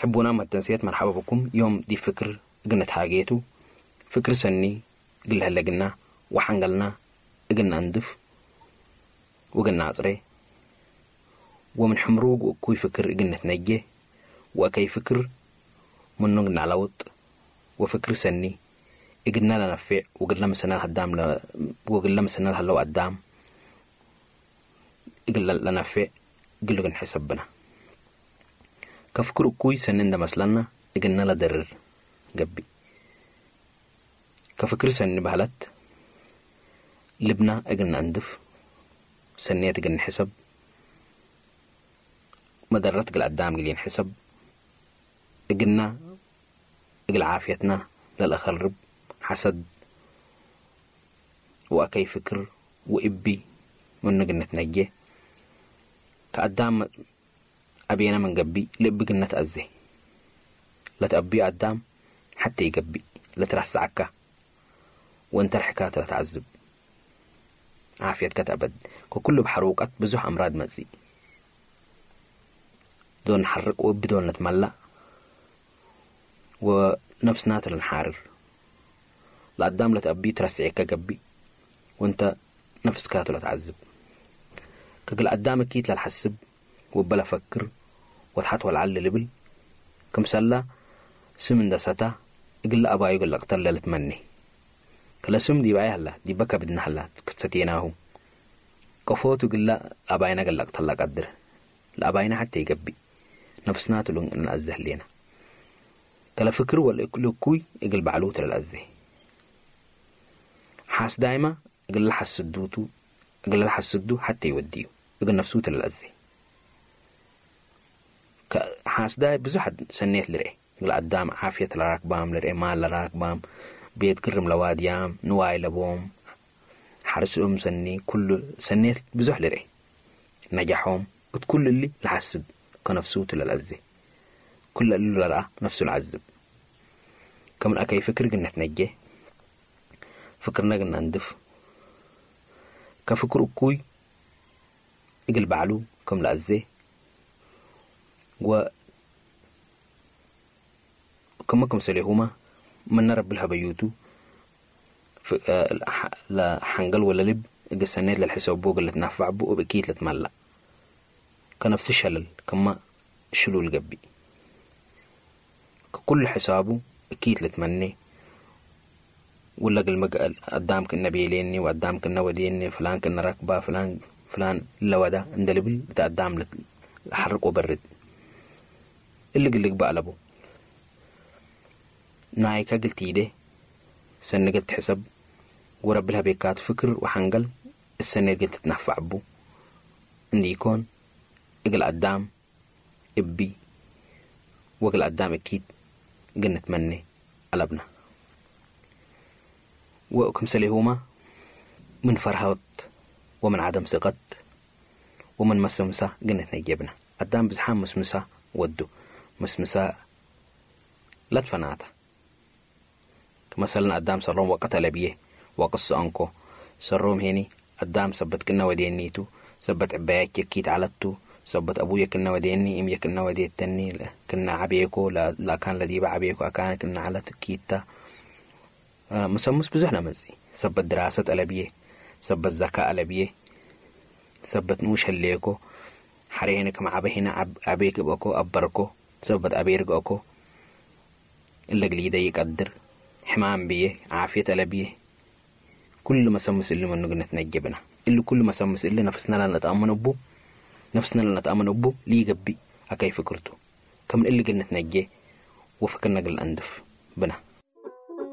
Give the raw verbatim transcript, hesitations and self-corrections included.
ሕቡናም መተንስየት መርሐበ ብኩም። ዮም ዲብ ፍክር እግል ንትሃጌ ቱ። ፍክር ሰኒ እግል ለህለ እግልና ወሐንገልና እግል ነአንድፍ ወእግል ነአጽሬ፣ ወምን ሕምሩግ ወእኩይ ፍክር እግል ንትነጄ ወአከይ ፍክር ምኑ እግል ነአለውጥ፣ ወፍክር ሰኒ እግልነ ለነፌዕ ወእግለ ምስልነ ለሀዳም ለ-፣ ወእግለ ምስልነ ለሀለው አዳም እግል ለነፌዕ እግል ንሕሰብ ብነ። ከፍክር እኩይ ሰኒ እንደ መስለነ እግልነ ለደርር ገብእ። ከፍክር ሰኒ በህለት ልብና እግል ነአንድፍ፣ ሰኔት እግል ንሕሰብ፣ መደረት እግል አዳም እግል ኢንሕሰብ፣ እግልና እግል ዓፍየትና ለልአከርብ ሐሰድ ወአከይ ፍክር ወእቢ ምኑ እግል ንትነጄ። ከአዳም አቤነ ምን ገብእ፣ ልእቢ እግል ነትአዜ። ለትአብዩ አዳም ሐቴ ኢገብእ፣ ለትረሰዐከ ወእንተ ርሕካ ተ ለተዐዝብ። ዓፍየትከ ተአበድ። ከኩሉ እብ ሐሩቀት ብዙሕ አምራድ መጽእ። ዶል ነሐርቅ ወእብ ዶል ንትመለእ ወነፍስና ተ ለንሓርር። ለአዳም ለትአብዩ ትረስዔከ ገብእ ወእንተ ነፍስካ ቱ ለተዐዝብ። ከእግል አዳም እኪት ለልሐስብ ወእበ ለፈክር ወተሐት ወለዐል ለልብል፣ ክምሰለ ስም እንደ ሰተ እግለ አባዩ እግል ለቅተል ለልትመኔ። ከለስም ዲብ አየ ሀላ፣ ዲበ ከብድነ ሀላ፣ ክትሰቴናሁ። ቀፎቱ እግለ አባይነ እግል ለቅተል ለቀድር። ለአባይነ ሐቴ ኢገብእ፣ ነፍስና ቱ ለእንአዜ ህሌነ። ከለፍክር ወለእኩይ እግል በዕሉ ቱ ለልአዜ። ሓስዳይመ እግለ ለሐስዱ ቱ፣ እግለ ለሐስዱ ሐቴ ኢወድዩ፣ እግል ነፍሱ ቱ ለልአዜ። ከ-፣ ሓስዳይ ብዙሕ ሰኔት ልርኤ። እግል አዳም ዓፍየት ለራክባም ልርኤ፣ ማል ለራክባም፣ ቤት ግርም ለዋድያም፣ ንዋይ ለቦም፣ ሐርስ እም ሰኒ፣ ኩሉ ሰኔት ብዙሕ ልርኤ። ነጃሖም፣ እት ኩሉ እሊ ለሐስድ ከነፍሱ ቱ ለልአዜ። ኩለ እሉ ለረአ ነፍሱ ለዐዝብ። ከምን አከይ ፍክር እግል ንትነጄ፣ ፍክርነ እግል ነአንድፍ፣ ከፍክር እኩይ እግል በዕሉ ክም ለአዜ፣ ወ-፣ ክመ ክምሰሌሁመ ምነ ረቢ ለሀበዩቱ፣ ፍ-፣ እ፣ ለሐ-፣ ለሐንገል ወለልብ እግል ሰኔት ለልሕሰቡ እግል ልትናፈዕ ቡ እብ እኪት ልትመለእ። ከነፍስ ሸለል ክመ ሽሉል ገብእ። ከኩሉ ሕሳቡ እኪት ልትመኔ፣ ውለ እግል ምግአል አዳም ክእነ ቤሌኒ ወአዳም ክእነ ወዴኒ፣ ፍላን ክእነ ረክባ፣ ፍላን፣ ፍላን ለወዳ እንደ ልብል እት አዳም ልት-፣ ለሐርቅ ወበርድ። እሊ እግል ልግበእ አለቡ። ናይከ እግል ቲዴ፣ ሰኒ እግል ትሕሰብ፣ ወረቢ ለሀቤካቱ ፍክር ወሐንገል እሰኔት እግል ትትናፈዕ ቡ። እንዲኮን፣ እግል አዳም እቢ ወእግል አዳም እኪት እግል ንትመኔ አለብነ። ወክምሰሌሁመ ምን ፈርሀት ወምን ዐደም ስቀት ወምን መስምሳ እግል ንትነጄ ብነ። አዳም ብዝሓም ምስምሳ ወዱ። ምስምሳ ለትፈናተ። ክመሰልነ አዳም ሰሮም ወቀት አለብዬ ወቅስ ሰአንኮ። ሰሮም ሄኒ አዳም ሰበት ክእነ ወዴኒ ቱ፣ ሰበት ዕበያቼ እኪት ዐለት ቱ፣ ሰበት አቡዬ ክእነ ወዴኒ እምዬ ክእነ ወዴተኒ ክእነ ዐቤኮ፣ ለ-፣ ለአካን ለዲበ ዐቤኮ አካነ ክእነ ዐለት እኪት ተ። አ፣ ምሰምስ ብዙሕ ለመጽእ። ሰበት ድራሰት አለብዬ፣ ሰበት ዘካ አለብዬ፣ ሰበት ንኡሽ ህሌኮ፣ ሐሬ ሄነ ክም ዐበ ሄነ ዐብ-፣ ዐቤ ግብአኮ፣ አበርኮ፣ ሰበት አቤ ርግአኮ፣ እለ እግል ኢደይ ኢቀድር፣ ሕማም ብዬ፣ ዓፍየት አለብዬ፣ ኩሉ መሰምስ እሊ ምኑ እግል ንትነጀ ብነ። እሊ ኩሉ መሰምስ እሊ ነፍስነ ለነትአመን እቡ፣ ነፍስነ ለነትአመን እቡ ሊገብእ አከይ ፍክር ቱ። ከምን እሊ እግል ንትነጄ ወፍክርነ እግል ነአንድፍ ብነ።